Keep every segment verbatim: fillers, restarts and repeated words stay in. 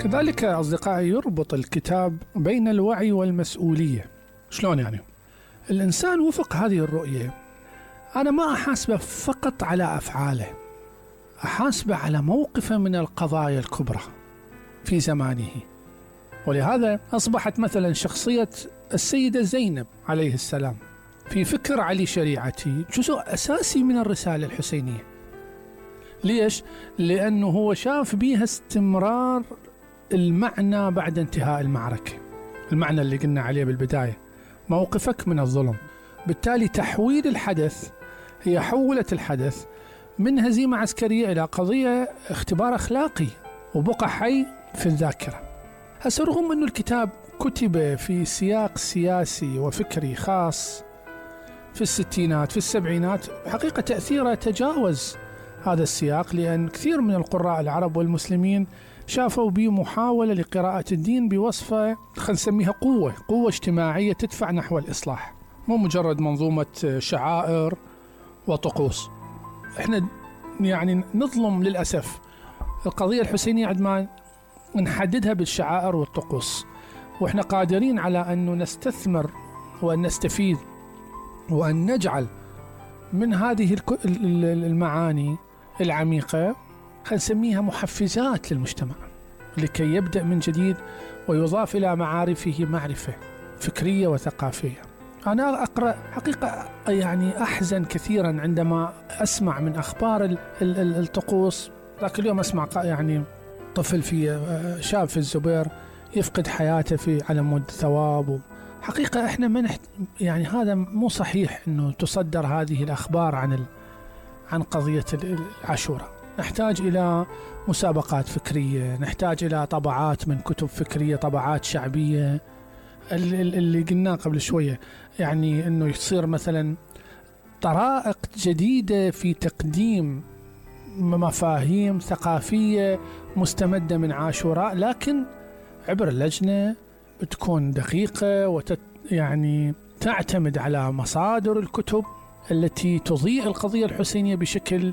كذلك أصدقائي يربط الكتاب بين الوعي والمسؤولية. شلون يعني؟ الإنسان وفق هذه الرؤية أنا ما أحاسبه فقط على أفعاله، أحاسبه على موقفه من القضايا الكبرى في زمانه. ولهذا أصبحت مثلا شخصية السيدة زينب عليه السلام في فكر علي شريعتي جزء أساسي من الرسالة الحسينية. ليش؟ لأنه هو شاف بيها استمرار المعنى بعد انتهاء المعركة، المعنى اللي قلنا عليه بالبداية، موقفك من الظلم. بالتالي تحويل الحدث، هي حولت الحدث من هزيمة عسكرية إلى قضية اختبار أخلاقي وبقى حي في الذاكرة. هسه رغم أن الكتاب كتب في سياق سياسي وفكري خاص في الستينات في السبعينات، حقيقة تأثيره تجاوز هذا السياق، لأن كثير من القراء العرب والمسلمين شافوا به محاولة لقراءة الدين بوصفة خلينا نسميها قوة قوة اجتماعية تدفع نحو الإصلاح، مو مجرد منظومة شعائر وطقوس. احنا يعني نظلم للأسف القضية الحسينية عندما نحددها بالشعائر والطقوس، واحنا قادرين على أن نستثمر وأن نستفيد وأن نجعل من هذه المعاني العميقة خلينا نسميها محفزات للمجتمع لكي يبدأ من جديد ويضاف إلى معارفه معرفة فكرية وثقافية. أنا أقرأ حقيقة يعني أحزن كثيرا عندما أسمع من أخبار الطقوس. ذاك اليوم أسمع يعني طفل في شاب في الزبير يفقد حياته في على مود ثواب. حقيقة إحنا ما نحت... يعني هذا مو صحيح إنه تصدر هذه الأخبار عن ال... عن قضية العاشوراء. نحتاج إلى مسابقات فكرية، نحتاج إلى طبعات من كتب فكرية، طبعات شعبية، اللي قلناه قبل شوية، يعني إنه يصير مثلا طرائق جديدة في تقديم مفاهيم ثقافية مستمدة من عاشوراء، لكن عبر اللجنة بتكون دقيقة وتت يعني تعتمد على مصادر الكتب التي تضيء القضية الحسينية بشكل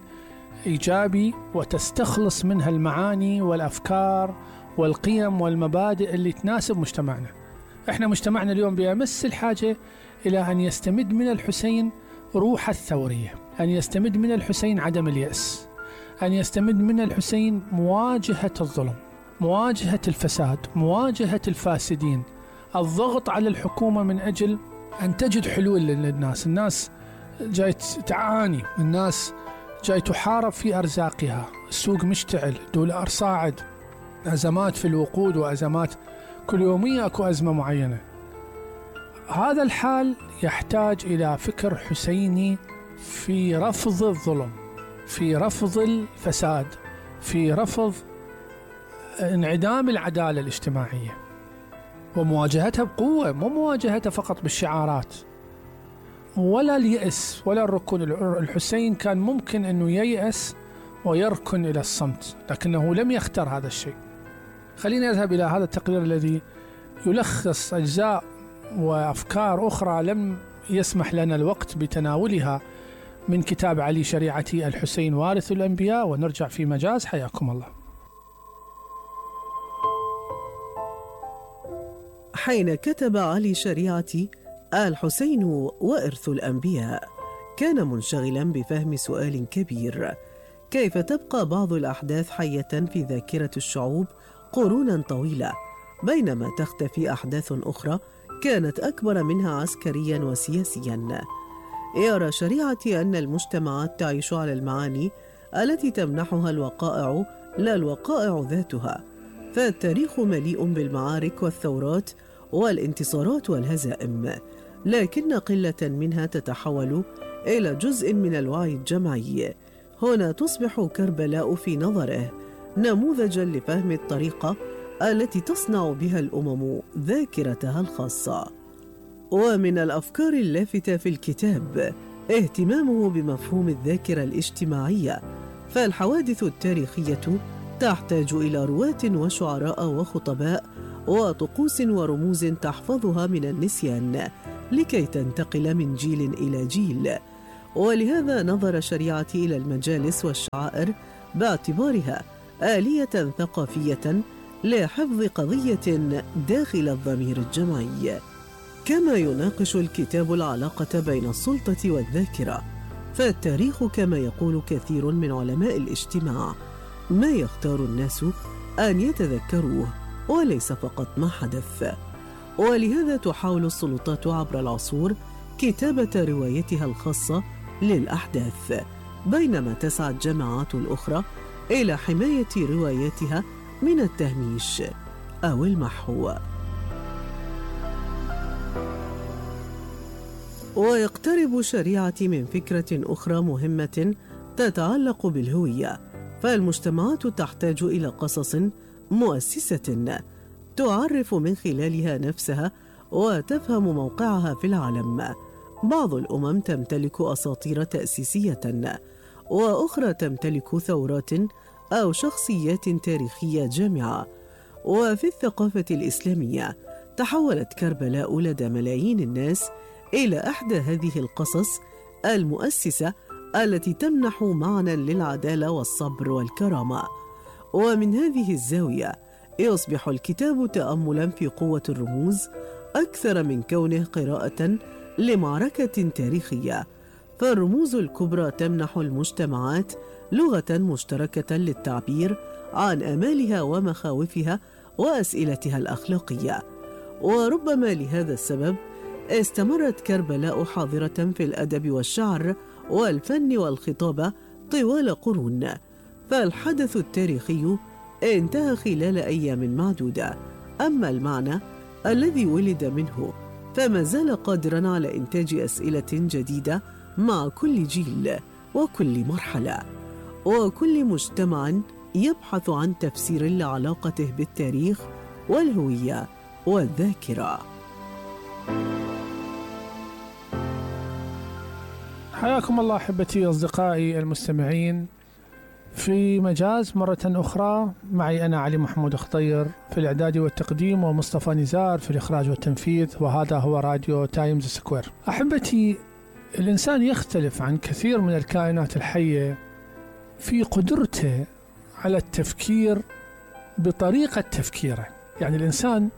إيجابي وتستخلص منها المعاني والأفكار والقيم والمبادئ اللي تناسب مجتمعنا. احنا مجتمعنا اليوم بيمس الحاجة إلى أن يستمد من الحسين روح الثورية، أن يستمد من الحسين عدم اليأس، أن يستمد من الحسين مواجهة الظلم، مواجهة الفساد، مواجهة الفاسدين، الضغط على الحكومة من أجل أن تجد حلول للناس. الناس جاي تعاني، الناس جاي تحارب في أرزاقها، السوق مشتعل، دولار صاعد، أزمات في الوقود وأزمات كل يومية أكو أزمة معينة. هذا الحال يحتاج إلى فكر حسيني في رفض الظلم، في رفض الفساد، في رفض انعدام العدالة الاجتماعية ومواجهتها بقوة، مو مواجهتها فقط بالشعارات ولا اليأس ولا الركون. الحسين كان ممكن أنه ييأس ويركن إلى الصمت، لكنه لم يختار هذا الشيء. خلينا نذهب إلى هذا التقرير الذي يلخص أجزاء وأفكار أخرى لم يسمح لنا الوقت بتناولها من كتاب علي شريعتي الحسين وارث الأنبياء، ونرجع في مجاز. حياكم الله. حين كتب علي شريعتي الحسين وإرث الأنبياء كان منشغلا بفهم سؤال كبير: كيف تبقى بعض الأحداث حية في ذاكرة الشعوب قرونا طويلة بينما تختفي أحداث أخرى كانت أكبر منها عسكريا وسياسيا؟ يرى شريعتي أن المجتمعات تعيش على المعاني التي تمنحها الوقائع لا الوقائع ذاتها، فالتاريخ مليء بالمعارك والثورات والانتصارات والهزائم، لكن قلة منها تتحول إلى جزء من الوعي الجمعي. هنا تصبح كربلاء في نظره نموذجا لفهم الطريقة التي تصنع بها الأمم ذاكرتها الخاصة. ومن الأفكار اللافتة في الكتاب اهتمامه بمفهوم الذاكرة الاجتماعية، فالحوادث التاريخية تحتاج إلى رواة وشعراء وخطباء وطقوس ورموز تحفظها من النسيان لكي تنتقل من جيل إلى جيل. ولهذا نظر شريعتي إلى المجالس والشعائر باعتبارها آلية ثقافية لحفظ قضية داخل الضمير الجمعي. كما يناقش الكتاب العلاقة بين السلطة والذاكرة، فالتاريخ كما يقول كثير من علماء الاجتماع ما يختار الناس أن يتذكروه وليس فقط ما حدث. ولهذا تحاول السلطات عبر العصور كتابة روايتها الخاصة للأحداث، بينما تسعى الجماعات الأخرى إلى حماية رواياتها من التهميش أو المحو. ويقترب شريعتي من فكرة أخرى مهمة تتعلق بالهوية، فالمجتمعات تحتاج إلى قصص مؤسسة تعرف من خلالها نفسها وتفهم موقعها في العالم. بعض الأمم تمتلك أساطير تأسيسية، وأخرى تمتلك ثورات أو شخصيات تاريخية جامعة. وفي الثقافة الإسلامية تحولت كربلاء لدى ملايين الناس إلى إحدى هذه القصص المؤسسة التي تمنح معنى للعدالة والصبر والكرامة. ومن هذه الزاوية يصبح الكتاب تأملاً في قوة الرموز أكثر من كونه قراءة لمعركة تاريخية، فالرموز الكبرى تمنح المجتمعات لغة مشتركة للتعبير عن آمالها ومخاوفها وأسئلتها الأخلاقية. وربما لهذا السبب استمرت كربلاء حاضرة في الأدب والشعر والفن والخطابة طوال قرون، فالحدث التاريخي انتهى خلال أيام معدودة، أما المعنى الذي ولد منه فما زال قادراً على إنتاج أسئلة جديدة مع كل جيل وكل مرحلة، وكل مجتمع يبحث عن تفسير لعلاقته بالتاريخ والهوية والذاكرة. حياكم الله أحبتي أصدقائي المستمعين في مجاز مرة أخرى، معي أنا علي محمود خطير في الإعداد والتقديم، ومصطفى نزار في الإخراج والتنفيذ، وهذا هو راديو تايمز سكوير. أحبتي، الإنسان يختلف عن كثير من الكائنات الحية في قدرته على التفكير بطريقة تفكيره. يعني الإنسان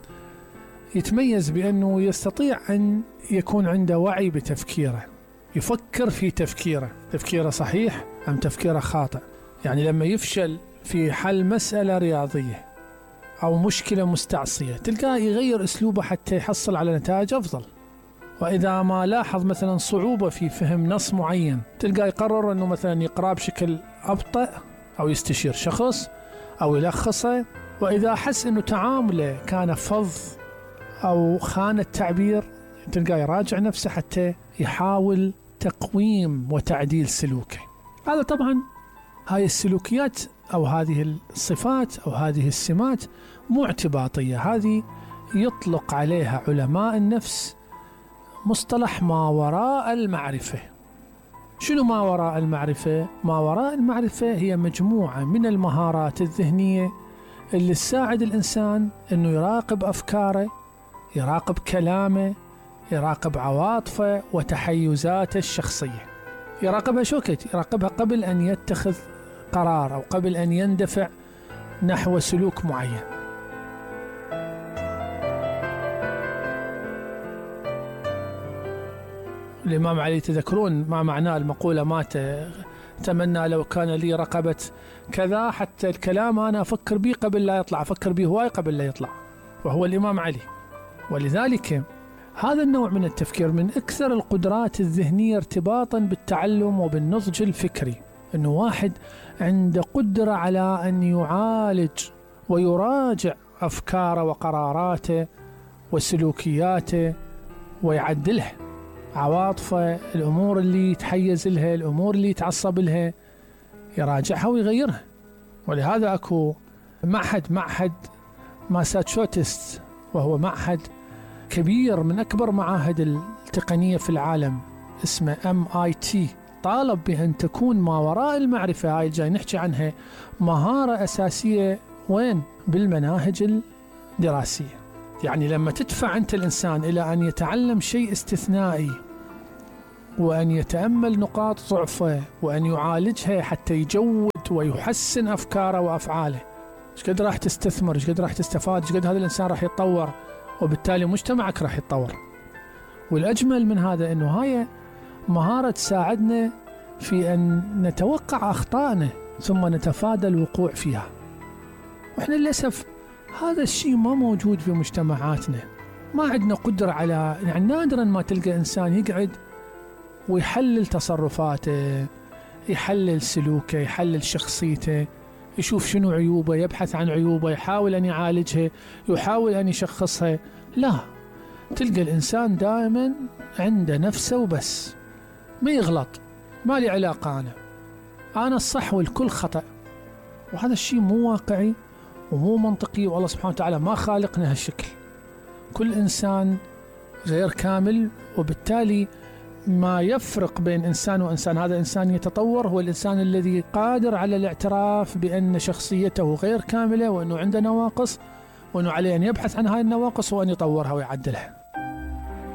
يتميز بأنه يستطيع أن يكون عنده وعي بتفكيره، يفكر في تفكيره، تفكيره صحيح أم تفكيره خاطئ. يعني لما يفشل في حل مسألة رياضية أو مشكلة مستعصية تلقاه يغير أسلوبه حتى يحصل على نتائج أفضل. وإذا ما لاحظ مثلا صعوبة في فهم نص معين تلقاه يقرر أنه مثلا يقرأ بشكل أبطأ أو يستشير شخص أو يلخصه. وإذا حس أنه تعامله كان فظ أو خان التعبير تلقاه يراجع نفسه حتى يحاول تقويم وتعديل سلوكه. هذا طبعا هاي السلوكيات أو هذه الصفات أو هذه السمات مو اعتباطية، هذه يطلق عليها علماء النفس مصطلح ما وراء المعرفة. شنو ما وراء المعرفة؟ ما وراء المعرفة هي مجموعة من المهارات الذهنية اللي تساعد الإنسان أنه يراقب أفكاره، يراقب كلامه، يراقب عواطفه وتحيزاته الشخصية. يراقبها شو كت؟ يراقبها قبل أن يتخذ قرار أو قبل أن يندفع نحو سلوك معين. الإمام علي تذكرون ما معناه المقولة مات تمنى لو كان لي رقبة كذا، حتى الكلام أنا أفكر به قبل لا يطلع، أفكر به هواي قبل لا يطلع، وهو الإمام علي. ولذلك هذا النوع من التفكير من أكثر القدرات الذهنية ارتباطا بالتعلم وبالنضج الفكري، أنه واحد عنده قدرة على أن يعالج ويراجع أفكاره وقراراته وسلوكياته ويعدلها، عواطفه، الأمور اللي يتحيز لها، الأمور اللي يتعصب لها، يراجعها ويغيرها. ولهذا أكو معهد معهد ماساتشوستس، وهو معهد كبير من أكبر معاهد التقنية في العالم، اسمه إم آي تي، طالب بأن تكون ما وراء المعرفة هاي جاي نحكي عنها مهارة أساسية وين؟ بالمناهج الدراسية. يعني لما تدفع أنت الإنسان إلى أن يتعلم شيء استثنائي وأن يتأمل نقاط ضعفه وأن يعالجها حتى يجود ويحسن أفكاره وأفعاله، ايش قد راح تستثمر، ايش قد راح تستفاد، ايش قد هذا الإنسان راح يتطور، وبالتالي مجتمعك راح يتطور. والأجمل من هذا أنه هاي مهارة تساعدنا في أن نتوقع أخطائنا ثم نتفادى الوقوع فيها. وإحنا للأسف هذا الشيء ما موجود في مجتمعاتنا، ما عندنا قدرة على، يعني نادرا ما تلقى إنسان يقعد ويحلل تصرفاته، يحلل سلوكه، يحلل شخصيته، يشوف شنو عيوبه، يبحث عن عيوبه، يحاول أن يعالجها، يحاول أن يشخصها. لا، تلقى الإنسان دائما عنده نفسه وبس، ما يغلط، ما لي علاقة، أنا أنا الصح والكل خطأ. وهذا الشيء مو واقعي ومو منطقي، والله سبحانه وتعالى ما خالقنا هالشكل. كل إنسان غير كامل، وبالتالي ما يفرق بين إنسان وإنسان، هذا إنسان يتطور هو الإنسان الذي قادر على الاعتراف بأن شخصيته غير كاملة، وأنه عنده نواقص، وأنه عليه أن يبحث عن هاي النواقص وأن يطورها ويعدلها.